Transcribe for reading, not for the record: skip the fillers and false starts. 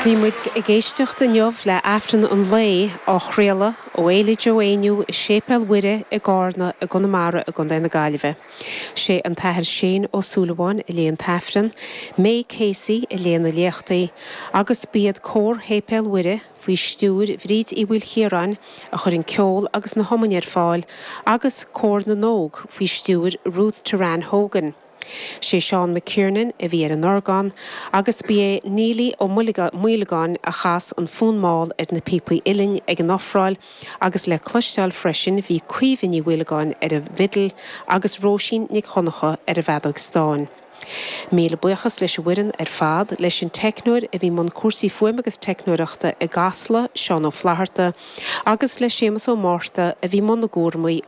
Bhí muid ag éisteacht inniu le Aifreann an Lae á chraoladh ó Fhéile Joe Éinniú i Séipéal Mhuire i gCarna i gConamara i gContae na Gaillimhe. Sé an tAthair Shane Ó Súilleabháin a léigh an tAifreann, May Casey a léigh na léachtaí agus b'iad Cór Shéipéal Mhuire faoi stiúir Bhríd Uí Mhaoilchiaráin a chuir an ceol agus na hiomainn ar fáil agus Cór na nÓg faoi stiúir Ruth Teran Hogan. Sé Seán McKiernan a bhí ar an orgán agus ba é Neilí Ó Maolagáin a chas an fonn mall ar na píopaí uilleann ag an ofráil agus le cloisteáil freisin bhí Caoimhe Ní Mhaolagáin ar an bhfidil agus Róisín Nic Dhonncha ar an bhfeadóig stáin. Míle buíochas leis an bhfoireann ar fad, leis an teicneoir a bhí i mbun cúrsaí fuaime agus teicneoireachta i gCasla, Seán Ó Flatharta, agus le Séamus Ó Márta a bhí i mbun na gcúramaí.